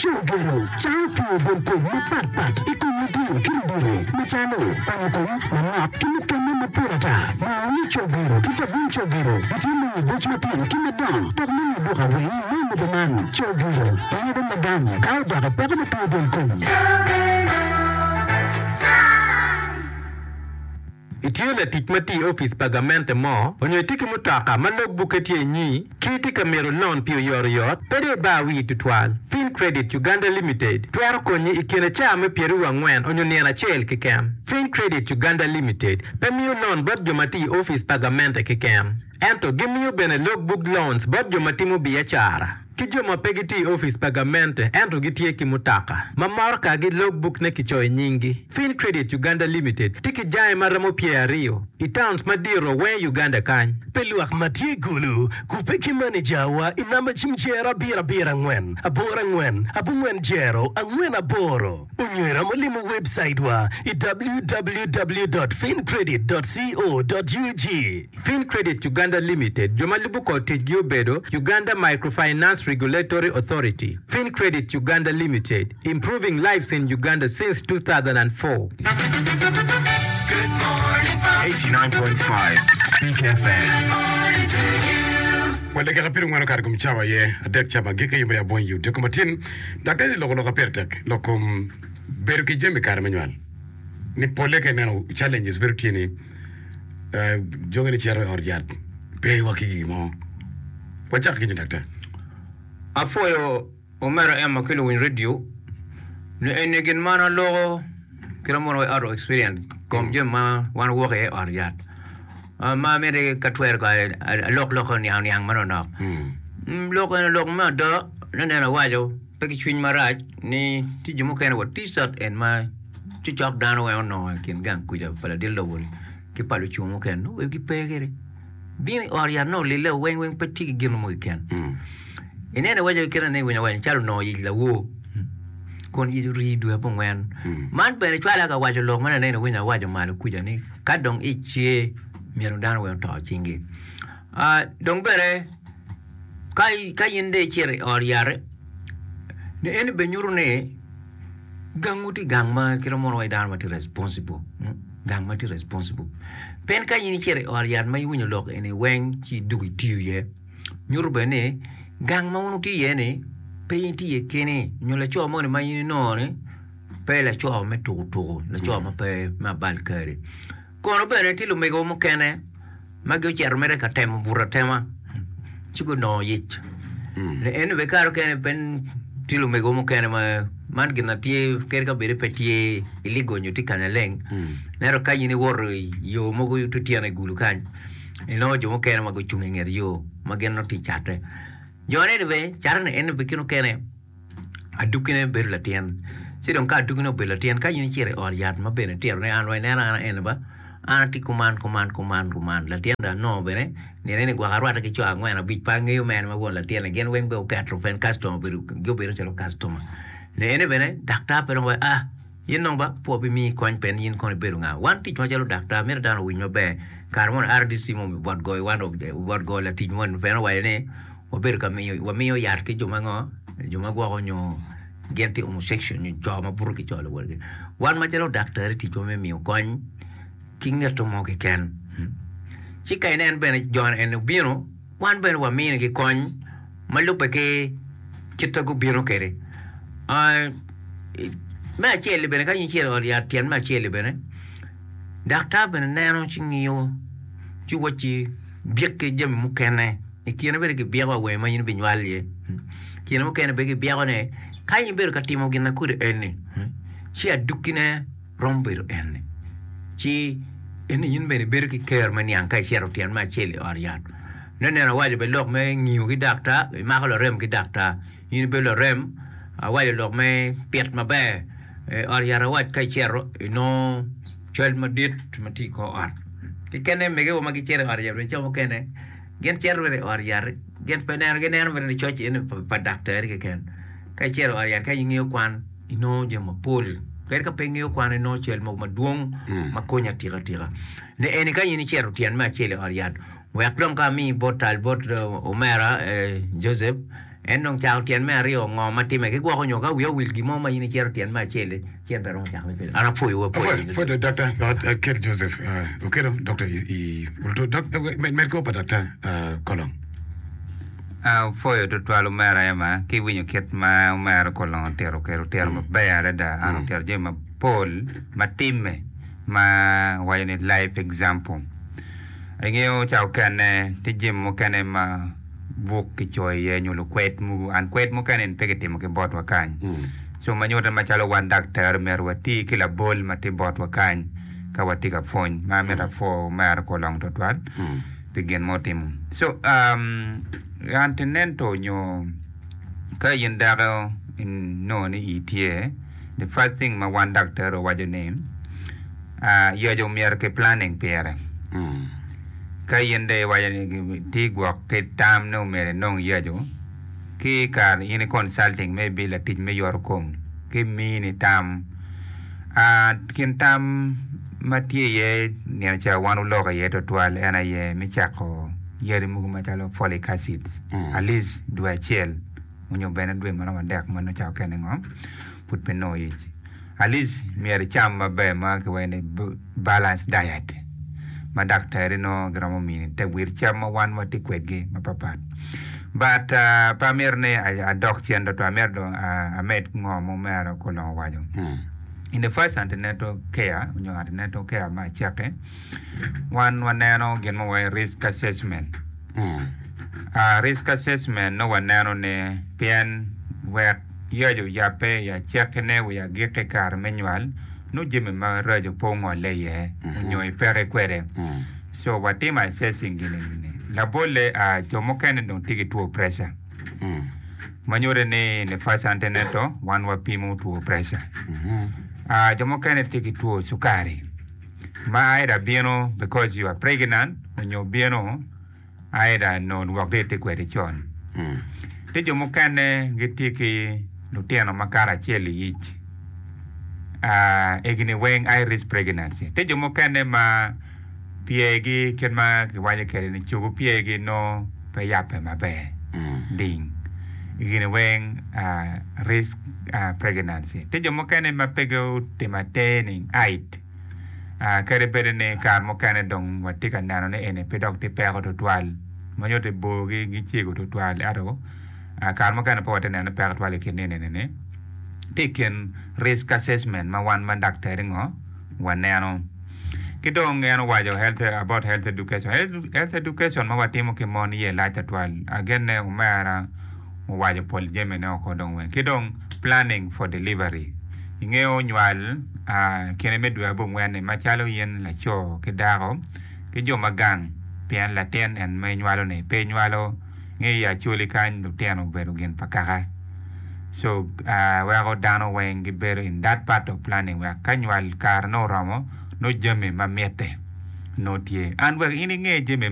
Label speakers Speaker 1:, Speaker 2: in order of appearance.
Speaker 1: Cogero cango two del kom mapat pat i kom lutino ki ludito macalo onyo kom manok ki mukene mapol ata. Nongo ni cogero ki cabun cogero gitye me nyo boc matino ki madongo dok me nyo duka weng me lobo man. Cogero konyo bene lagam ka odok i peko me two del kom.
Speaker 2: Itye latic ma tiyo i opic pa gamente mo, onyo itye ki mutoka ma log bukke tye inyi, ki itye ka mito lon pi oyotoyot, pe dong ibar wii tutwal. Fincredit Uganda Limited twero konyi i kine caa me pyeraryo angwen onyo nino acel keken. Fincredit Uganda Limited pe miyo lon bot jo ma tiyo i opic pa gamente keken, ento gimiyo bene log book loans bot jo ma timo biacara. Ki jo ma pe gitye i opic pa gamente ento gitye ki mutoka ma morokagi logbook ne kicoyo nyinggi. Fincredit Uganda Limited tye ki jange ma romo pyeraryo i towns madito weng i Uganda kany.
Speaker 3: Pi lwak ma tye i Gulu, kubbe ki maneja wa i namba cim jero abiro abiro angwen aboro angwen abongwen jero angwen aboro onyo iromo limo webcait wa i www dot fincredit dot co dot ug.
Speaker 2: Fincredit Uganda Limited, jo ma lubo kor ticgi obedo, Uganda Microfinance Regulatory Authority, Fincredit Uganda Limited, improving lives in Uganda since 2004.
Speaker 4: 89.5 Speak FM.
Speaker 5: Wa dakika pyerangwen okato i kom cawa aye adek ca ma agikki yub me abonyo i odiko matin. Daktar loko lok ma pire tek lok kom bedo ki jami i kare me nywal. Ni polle ka ineno challenges bedo tye ni Jogi ni cito i ot yat pe wa ki gin mo. Wacak ki nyo daktar.
Speaker 6: Apwoyo omera Emma ki luwiny radio ni eni gin ma an aloko kit ma mono wa out of experience kom jami ma wan wawok iye i ot yat ma amiti ka twero kong alok lok oniang niang manok nok lok eni lok me ada noneno awaco pe ki cwiny marac ni tye jo mukene wa t-shirt en ma Cocok dano weng onongo i kin gang kuca pa ladit lobo-ni ki pa lucung mukene nongo bene gipe kwede. Bino i ot yat nongo olille weng weng pe tye ki gin mo keken. Ineno iwaco kit ma iwinyo waco calo onongo yic lawor kun yic orii dwe abongwen. Man bene cwala ka waco lok ma nene iwinyo awaco malo kuca ni ka dong ic tye myero dano weng oto cingi. Dong bene ka in dong icito i ot yat-ti ni eni bene nyuto ni Gangwu tye gang ma kit ma mono waci dano ma tye responsible, gang ma tye responsible. Pien ka in icito i ot yat ma iwinyo lok eni weng ci idwogo itiyo iye, nyuto bene ni gang ma wun wutye iye ni pe in itye iye keni nyo laco moni ma in inongo ni pe laco me tuko tuko, laco ma pe me abal kadi. Kono bene tye lumego mukene ma gucito mere ka temo buto atema ci gunongo yic. Ento bene kare mukene pe tye lumego mukene ma man gin na tye kadi ka bed ni pe tye iligo nyo tye kanya leng ento ka in iwoto i yo mogo otyeno i gulu kany inongo jo mukene ma gucung i nget yo ma gin nongo tye cate. Jo-ni bene cate-ni eni bene kine mukene Adukkine bedo latin. Ci dong ka adukkine obedo latin, ka in icito i ot yat ma bene itito ni an wa ineno an eni ba, an atye kuman, kuman, kuman, kuman, latin dong anongo bene nino eni gwok arwatte ki co angwen abic pe angeyo mene ma won latin-ni gin weng bene oketo pien kastoma obedo gubedo calo kastoma. Ni eni bene daktar pe dong waco ah in dong ba pwo bimiyi kony pien in kono ibedo nga. Wan ticwa macalo daktar mito dano owiny maber kare moni RDC mo bot goyo wan bot goyo latic moni pien owaco ni Wabedo ka miyo, wamiyo yat ki jo ma ngo, jo ma gwoko nyo gin tye homosexual nyo co ma buto ki co luwotgi. Wan macalo daktari ticwa me miyo kony ki ngeto mo keken. Ci ka inen bene jo eni obino, wan bene waminigi kony ma lubbe ki kit ma gubino kwede. Me acel-li bene ka in icito i ot yat tyen me acel-li bene, daktar bene neno ci ngiyo ci wacci byek ki jami mukene. I kine bene gibyeko awer ma in ibinywal iye. I kine mukene bene gibyeko ni ka in ibedo ka timo gin ma kodi eni, ci adukkine romo bedo eni. Ci eni in bene ibedo ki kero me niang ka icito tyen me acel i ot yat. Noneno awaco bene lok me ngiyo ki daktar, imako larem ki daktar. In ibedo larem, awaco lok me pit maber. I ot yat awac ka icito inongo cal madit ma tye i kor ot. Kekene megewa ma gicito i ot yat bene ca mukene Gin cito bene i ot yat, gin pe neno, gineno mere ni coc eni pa daktari keken. Ka icito i ot yat ka ingeyo kwan, inongo jami mapol. Kadi ka pe ingeyo kwan inongo cal mogo madwong ma konyi atika tika. Ni eni ka in icito tyen me acel i ot yat, wek dong ka ami bot tal bot omera Joseph. En dong cako tyen me aryo, ngo ma timme? Ki gwoko nyo ka wiya owil gin mo ma in icito tyen me acel-li, ci en pe romo cako me kelo. An apwoyowu apwoya
Speaker 5: Apwoyo,
Speaker 6: in
Speaker 5: apwoyo Daktar Kel Joseph Okello, Dokta i Med kor pa Daktar Kolong.
Speaker 7: Apwoyo tutwal omera Emma ki winyo kit ma omera Kolong otito kwede, otito maber adada. An otito jami mapol ma timme ma waco ni life example. Ingeyo ca okene tye jami mukene ma buk kicoyo iye nyo lukwed mogo and kwed mukene ni pe kitimo ki botwa kany. Co ma nyutte macalo wan daktari myero wati ki labol ma tye botwa kany ka watye ka pwony. Ma amito apwo omera Kolong twatwal pi gin ma otimo. So um, antenatal nyo ka in dako inongo ni ii tye, the first thing ma wan daktari wawaco ni ah, yaco myero ki planning pire. Ka in dong iwaco ni tye gwok ki tam ni omyero inong yaco, ki i kare in i consulting maybe latic me yoto kom ki mini tam. Ah, kin tam ma tye iye nino ca wan oloko iye twatwal en aye me cako yadi mogo macalo folic acids at least dwe acel onyo bene dwe maromo adek ma nongo ca okene ngo pud pe nongo ic. At least myero icam maber ma kiwaco ni balanced diet ma daktari nongo giromo mini te wir cam ma wan watye kwedgi mapapat. But pe amito ni adok cen tutwal, amito dong amed ngo ma omera Okolong owaco. In the first antenatal care nyo antenatal care me acakki, wan waneno gin ma wawaco risk assessment. Risk assessment nongo waneno ni pien wek yaco oyabbe i acakkine wa i agikki kare me nywal, nongo jami maraco pe ongolle iye nyo ipeke kwede. Co watimo assessing gin eni. Labolle, jo mukene dong tye ki two pressure ma nyuto ni in the first antenatal wan wapimo two pressure. Jo mukene tye ki two cukari ma either bino because you are pregnant onyo bino Either nongo lwok dong itye kwede con. Tye jo mukene gitye ki lutino makato acel i ic, egini weng high risk pregnancy. Tye jo mukene ma pyergi kit ma kiwaco kwede ni cogo pyergi nongo pe yabbe maber ding, egini weng risk pregnancy. Tye jo mukene ma pe gutimo atir ni height. Kadi bed ni kare mukene dong watye ka neno ni eni pe dok tye peko tutwal, ma nyuto ni borgi gicego tutwal, ento kare mukene pe watye ka neno ni peko tutwal i kin nino eni-ni. Tye i kin risk assessment ma wan ma daktari ngo waneno. Ki dong en owaco health about health education. Health education ma watimo ki mon iye lac tutwal. Agenne omera owaco pol jamine oko dong weng. Ki dong planning for delivery. Ingeyo nywal kine me dwe abongwen-ni macalo in laco ki dako ki jo ma gang pien latin en ma inywalo-ni pe inywalo nge i Acholi kany lutino obedo gin pa kaka so weko dano weng gibedo in that part of planning wek ka nywal kare nongo oromo nongo jami ma mitte nongo tye. An wek in inge jami.